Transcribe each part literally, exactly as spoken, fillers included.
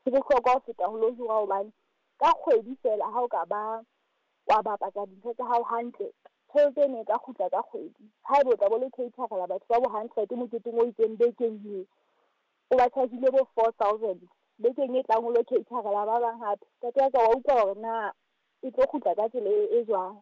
Ho bohlokwa ho feta ho lo hira hobane ka kgwedi feela ha o ka ba wa bapatsa dintho tsa hao hantle, tjhelete eno e ka kgutla ka kgwedi. Haeba o tla bo le cater-ela batho ba bo hundred moketeng o itseng bekeng eo, o ba charge-ile bo four thousand. Bekeng e tlang o lo cater-ela ba bang hape. Ntate wa ka wa utlwa hore na e tlo kgutla ka tsela e, e jwang.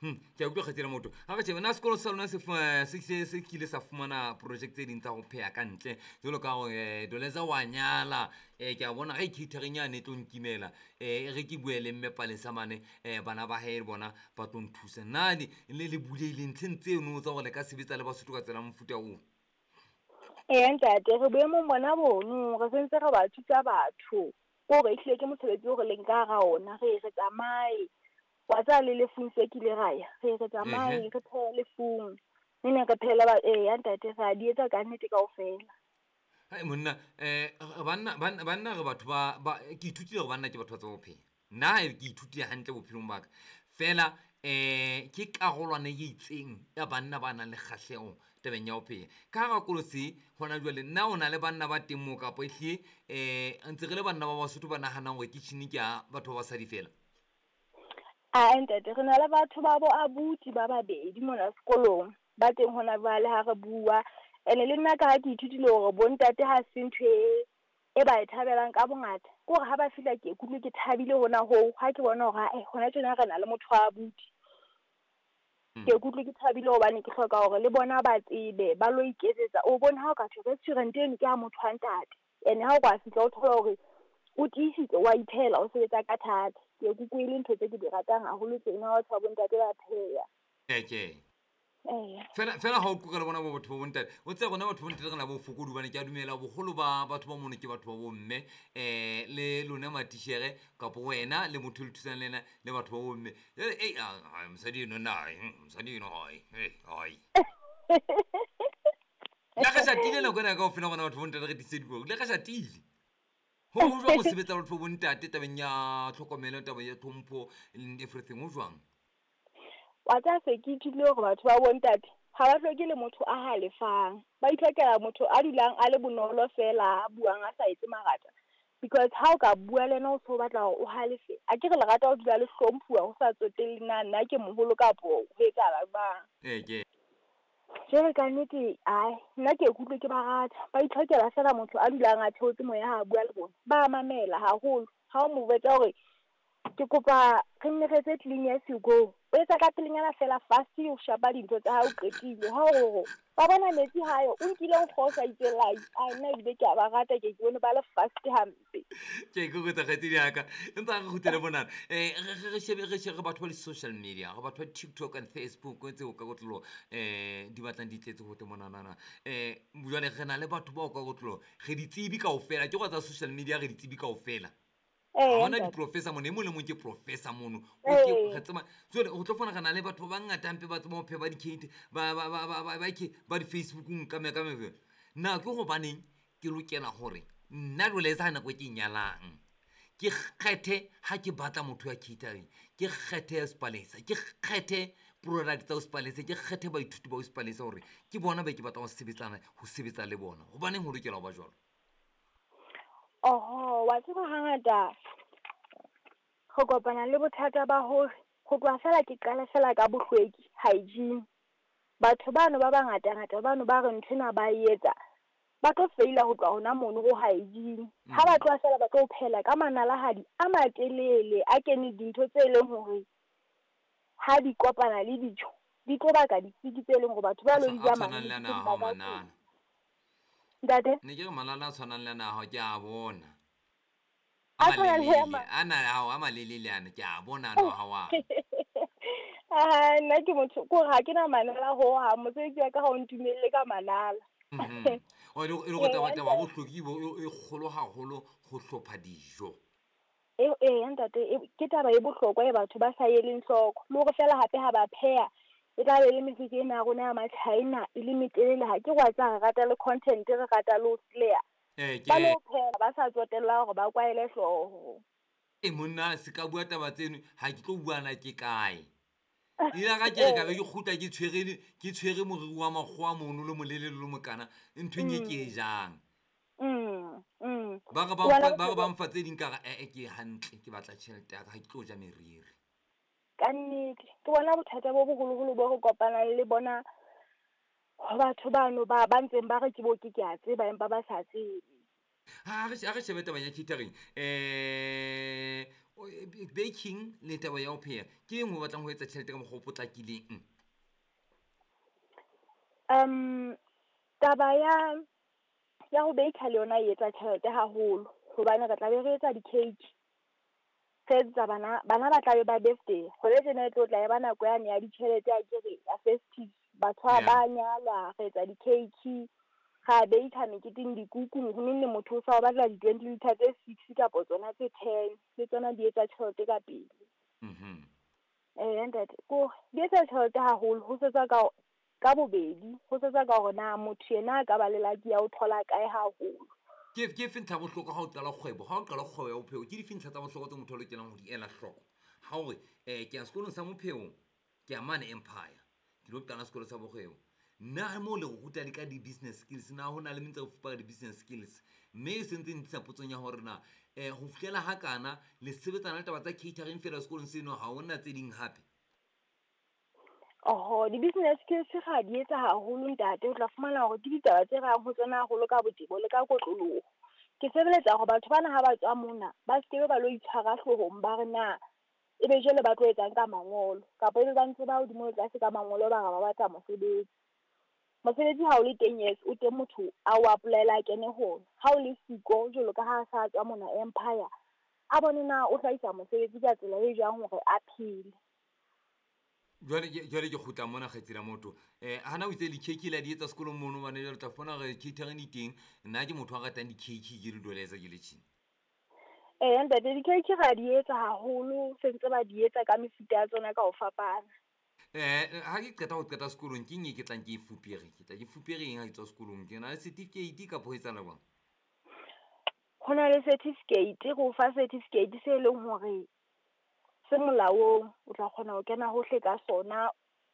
Hmm, ke a utlwa kgaitsedi motho ga re shebe na sekolo sa lona se fu- se se se kile sa fumana project tse ding tsa go pheya ka ntle jalo ka gore um Doleza wa nyala um ke a bona ge catering yane e tlo nkimela um e re ke bue le mme Palesa mane um bana ba hae bona ba tlo nthusa na le le le buleile ntlheng tseno tsa gore le ka sebetsa le Basotho ka tsela ya mofuta oo. Eya ntate, re boemong bona bono, re sentse re ba thusa batho. Ke hore ehlile ke mosebetsi o re leng ka hara ona, re re tsamaye. Wa tseba le lefung se kile ra ya, re re tsamaye Ehe. re phehe lefung. Ne ne re phehela ba, eya ntate re a di etsa ka nnete kaofela. Hai monna um banna banna banna re batho ba ba ke ithutile gore banna ke batho ba tseba ho pheha nna ha ke ithutile hantle bophelong ba ka fela um ke karolwana e itseng ya banna ba nang le kgahlego tabeng ya ho pheha ka hara kolo se gona jwale nna o na le banna ba teng moo kapa ehlile um ntse re le banna ba Basotho ba nahanang gore kitchen ke ya batho ba basadi fela. Ae ntate, re na le batho ba bo abuti ba babedi mona sekolong, ba teng hona jwale ha re bua. Ene le nna ka ha ke ithutile hore bo ntate ha se ntho e e ba e thabelang ka bongata. Ke hore ha ba fihla ke ikutlwe ke thabile hona hoo, ha ke bona hore ae hona tjena re na le motho wa abuti. Ke ikutlwe ke thabile hobane ke hloka hore le bona ba tsebe, ba lo iketsetsa. O bone ha o ka thwe restaurant eno ke ya motho wa ntate. Ene ha o ka fihla o thola hore o tiisitse wa iphehela, o sebetsa ka thata. Ke ikutlwe e le ntho tse ke di ratang haholo tsena ha batho ba bo ntate ba pheha. Eke Eya. fela fela ha o qoqa le bona bo batho ba bontate o tseba rona batho ba bontate re na bofokodi hobane ke a dumela boholo ba batho ba mono ke batho ba bomme um le lona matishere kapo wena le motho e le thusang le ena le batho ba bomme. Jwale, ei, ah, ah, mosadi eno nna ai, mosadi eno ai, eh, ai le re shatile nako ena kaofela rona batho ba bontate re tiise dikobo le re shatile ho ho jwang ho sebetsa le batho ba bontate tabeng ya tlhokomelo taba ya tlhompho and everything ho jwang? Wa tseba se ke ithutile hore batho ba bontate ha ba hloke le motho a halefang. Ba itlhokela motho a dulang a le bonolo fela, a buang a sa etse marata. Because ha o ka bua le yena o so batla hore o halefe, akere le rata ho dula le hlomphuwa ho sa tsotelle na nna ke moholo kapo ho etsahala jwang. Eke Jwale ka nnete ae nna ke ikutlwe ke ba rata. Ba itlhokela fela motho a dulang a theotse moya ha a bua le bona. Ba mamela haholo. Ha o mo jwetsa hore ke kopa re nne re etse clean as you go, o etsa ka pelenyana fela fast, o shapa dintho tsa hao o qetile. Ha o re wa bona metsi hayo, o nkile nkgo o sa itsela, ai nna ebile ke a ba rata, ke ke bone ba le fast hampe. Ke ikokotsa kgaitsedi ya ka empa re kgutlele monana um re shebe re shebe re batho ba di-social media re batho ba TikTok and Facebook tseo ka kotlolo um di batlang di tletse gote monanana um jwale re na le batho bao ka kotlolo re di tsebe kaofela ke go tsa social media re di tsebe kaofela. Ee, ha hona ntate. di-professor mono e mong le mong ke professor mono. O ke Ee. re tseba jwale go tlo fona re na le batho ba bangata hampe ba tseba ho pheha ba di-cate ba ba ba ba ba ba ke ba di-Facebookong ka me ka me na ke hobaneng ke lokela hore nna jwale e sa nako e ke nyalang ke kgethe ha ke batla motho ya catering ke kgethe Spalesa ke kgethe product tsa Spalesa ke kgethe baithuti ba Spalesa hore ke bona ba ke batlang ho sebetsana ho sebetsa le bona hobaneng ho lokela ho ba jwalo. Oho, wa tseba hangata re kopana le bothata ba hore ho tloha fela ke qala fela ka bohlweki, hygiene. Batho bano ba bangata-ngata bano ba re nthwena ba e etsa, ba tlo feila ho tloha hona mono ho hygiene. Ha ba tloha fela ba tlo phela ka manalahadi a matelele a kene dintho tse leng hore ha di kopana le dijo di tlo baka disiki tse leng hore batho ba A lo tshwa- di a ja tshwanang le mane ana a hao ba ka manala. Ntate? Ne ke re malala a tshwanang le ana a hao ke a bona. A A tshwanang le a malelele mang? ana a hao a malelele ana ke a bona ano a hao ana. Ah, nna ke motho ke hore ha ke na manala hohang, mosebetsi wa ka ha o ntumelle ka manala. Mhm. O e le e le hore Eya, taba taba ya ntate. bohlweki bo e e kgolo haholo ho hlopha dijo. E eya ntate, e ke taba e bohlokwa e batho ba sa eleng hloko. Le hore feela hape ha ba pheha, e tla be e le mefetso ena ya rona ya ma-China e le metelele ha ke wa tseba re rata le content, re rata le ho sleya. Eh Ba ke lo pheha ba sa tsotella hore ba kwaele hlooho. E monna se ka bua taba tseno ha ke tlo bua na ke kae. Ile ka ke re ka be ke kgutla ke tshwere ke tshwere moriri wa makgowa mono le molelele le mokana nthweng e ke e jang. Mm. Mm. Ba re ba Ke bona mfa- ba re bothata ba mfa tse ding ka re ee ke hantle ke batla tjhelete ya ka ha ke tlo ja meriri. Ka nnete. Ke bona bothata bo boholoholo bo re kopanang le bona ho batho bano ba ba ntseng ba re ke bo ke ke a tseba empa ba sa tsebe. Ha re ha re shebe taba ya catering eh o- e- baking le taba ya ho pheha ke eng ho batlang ho etsa tjhelete ka mokgwa o potlakileng? Um taba ya ya ho baker le yona e etsa tjhelete haholo hobane re tla be re etsa di-cake. Re etsetsa bana bana ba tla be ba birthday. Hona tjena e tlo tla e ba nako yane ya ditjhelete akere ya festive. Batho Yeah. ba nyalwa re etsa di-cake, ra baker meketeng dikuku neng neng motho o sa o batla di-twenty litre tse six kapa tsona tse ten le tsona di etsa tjhelete ka pele. Mhm. Eh ntate ko di etsa tjhelete haholo ho setswa ka ka bobedi ho setswa ka hore na motho yena a ka ba le lucky ya ho thola kae haholo. Ke ke efe ntlha ya bohlokwa ha o qala kgwebo ha o qala kgwebo ya bophelo ke dife ntlha tsa bohlokwa tse motho a lokelang ho di ela hloko ha hore eh ke ya sekolong sa mopheo ke ya mane Empire ke lo qala sekolo sa bokgwebo nna mo le ruta le ka di-business skills na ho na le mentse re fupa ka di-business skills mme e sentse ntlisa potsong ya hore na um ho fihlela ha kana le sebetsana le taba tsa catering fela sekolong seno ha hona tse ding hape? Oho, di-business skills ra di etsa haholo ntate, o tla fumana hore ke ditaba tse rang ho tsona haholo ka botebo le ka kotloloho. Ke sebeletsa hore batho bana ha ba tswa mona ba skebe ba lo itshwara hloohong ba re na ebe jwale ba tlo etsang ka mangolo kapa ebe ba ntse ba hodimo le tlase ka mangolo ba re ba batla mosebetsi. Mosebetsi ha o le teng yes o teng motho a o apply-ela a kene ho ona. Ha o le siko jwalo ka ha a sa tswa mona Empire a bone na o hlahisa mosebetsi ka tsela e jwang hore a phele. Jwale ke jwale ke kgutla mona kgaitsedi ya motho um hana o itse di-cake le a di etsa sekolong mono hobane jwale o tla fumana hore catering di teng nna ke motho a ratang di-cake ke le doleza ke le tjena. Eh ntate di-cake ra di etsa haholo se ntse ba di etsa ka mefuta ya tsona ka ho fapana. Eh ha ke qeta ho qeta sekolong ke eng e ke tlang ke e fupere ke tla ke fupere eng ha ke tswa sekolong ke na le certificate kapa ho etsahala jwang? Ho na le certificate re o fa certificate se leng hore se molaong o tla kgona ho kena hohle ka sona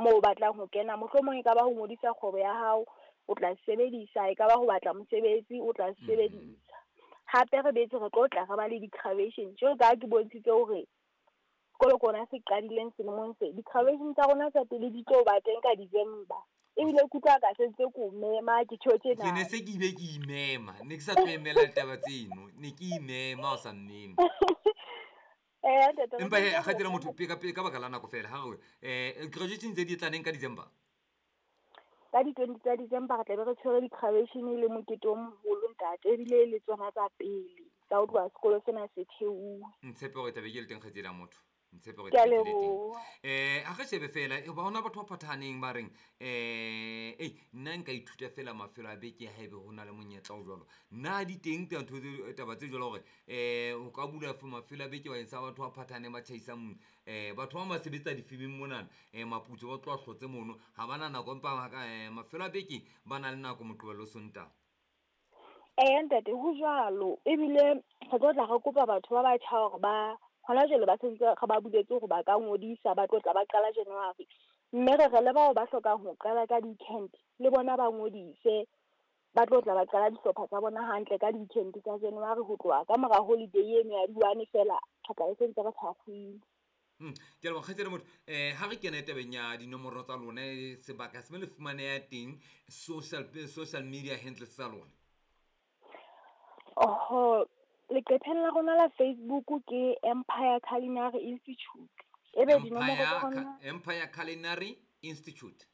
moo o batlang ho kena mohlomong e ka ba ho ngodisa kgwebo ya hao o tla sebedisa e ka ba ho batla mosebetsi o tla sebedisa. Hape re betse re tlo tla re ba le di-graduation jwalo ka ha ke bontshitse hore sekolo ke ona se qadileng selemong se di-graduation tsa rona tsa pele di tlo ba teng ka December. Ebile ke utlwa ka sentse ke o mema ke tjho tjena. Ke ne se ke ile ke imema ne ke sa tlo emela ditaba tseno ne ke imema o sa mmeme. Eh ntate Empa he kgaitsedi ya motho pe ka pe ka baka la nako fela ha re eh graduation tse di tla neng ka December? Ka di-twenty tsa December re tla be re tshwere di-graduation le mokete o moholo ntate ebile le tsona tsa pele tsa ho tloha sekolo sena se thehuwe. Ntshepe hore tla be ke le teng kgaitsedi ya motho. Ntshepe hore Ke a tla be ke le teng. leboha. Eh ha re shebe fela e ba hona batho ba phathahaneng ba reng eh ei nna nka ithuta fela mafelo a beke haebe ho na le monyetla o jwalo. Na di teng ntho tse taba tse jwalo hore eh o ka bula for mafelo a beke bakeng sa batho ba phathahaneng ba tjhaisang eh batho ba ba sebetsa difemeng monana eh maputso ba tloha hlotse mono ha bana nako empa ha ka eh mafelo a beke ba na le nako Moqebelo le Sontaha. Eh ntate ho jwalo ebile re tlo tla re kopa batho ba batjha hore ba hona jwale ba sentse re ba buletse hore ba ka ngodisa ba tlo tla ba qala January. Mme re re le bao ba hlokang ho qala ka di-weekend le bona ba ngodise ba tlo tla ba qala dihlopha tsa bona hantle ka di-weekend tsa January ho tloha ka mora holiday eno ya di-one fela re tla be sentse re tshwarehile. Hmm ke a leboha kgaitsedi ya motho eh ha re kene tabeng ya dinomoro tsa lona sebaka se mo le fumaneha teng social social media handles tsa lona. Oho leqepheng la rona la Facebook ke Empire Culinary Institute. Ebe dinomoro tsa Empire rona Empire Culinary Institute.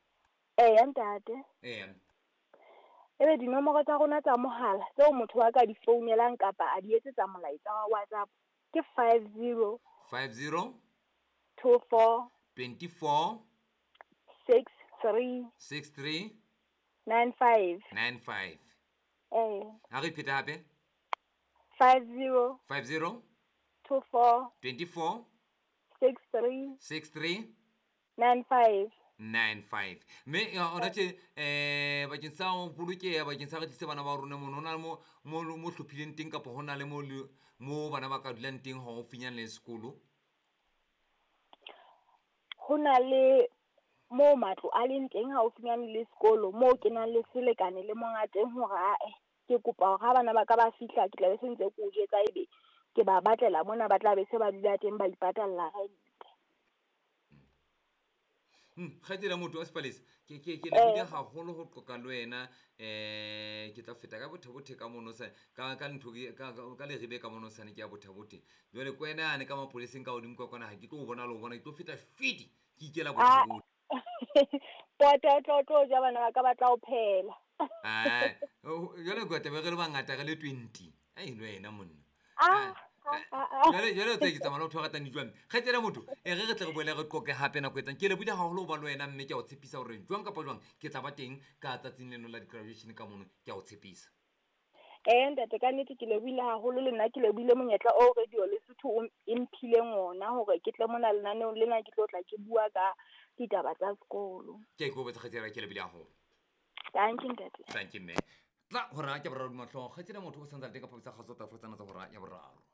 Eh ntate. Eh. Ebe dinomoro tsa rona tsa mohala tseo motho a ka di founelang kapa a di etsetsa molaetsa wa WhatsApp ke five zero five zero two four twenty-four six three six three nine five nine five. Eh. Ha re pheta hape? Five zero five zero two four twenty-four six three six three nine five nine five. Mme hona tje eh bakeng sa ho bolokeha bakeng sa re tlise bana ba rona mono ho na le mo mo mo hlophileng teng kapa ho na le mo mo bana ba ka dulang teng haufinyana le sekolo? Ho na le mo matlo a leng teng haufinyana le sekolo moo ke nang le selekane le monga teng hore ae Ke kopa hore ha bana ba ka ba fihla ke tla be se ntse ke o jwetsa, ebe ke ba batlela mona ba tla be se ba dula teng ba ipatalla rente. Kgaitsedi ya motho wa Sepalesa, ke ke ke lebohile haholo ho qoqa le wena. um Ke tla feta ka Botha-Bothe ka mono sa ka ka ntho ka ka Leribe ka mono sane ke ya Botha-Bothe. Jwale ke wena yane ka mapoleseng ka hodimo ka kwana, ha ke tlo o bona le ho bona, ke tlo feta fidi ke ikela Botha-Bothe. Pota o tlo tlo ja bana ba ka ba tla o phela. Jwale ke tlabe re le bangata re le twenty. Ai le wena monna. Ah, Jwale jwale o tsebe ke tsamaya le batho ba ratang dijo hampe. Kgaitsedi ya motho, e re re tle re boele re qoqe hape nako e tlang. Ke lebohile haholo ho ba le wena, mme ke a o tshepisa hore jwang kapa jwang ke tla ba teng ka tsatsing leno la di-graduation ka mono, ke a o tshepisa. Eh ntate, ka nnete ke lebohile haholo le nna ke lebohile monyetla o Radio Lesotho o e mphileng ona hore ke tle mona lenaneong lena ke tlo tla ke bua ka ditaba tsa sekolo. Ke a ikokobetsa kgaitsedi ya ka, ke lebohile haholo. Thank you ntate. Thank you mme. Tla hora ya boraro mahlong. Kgaitsedi ya motho o santse a le teng ka phaposi ya kgaso tsa tsena tsa hora ya boraro.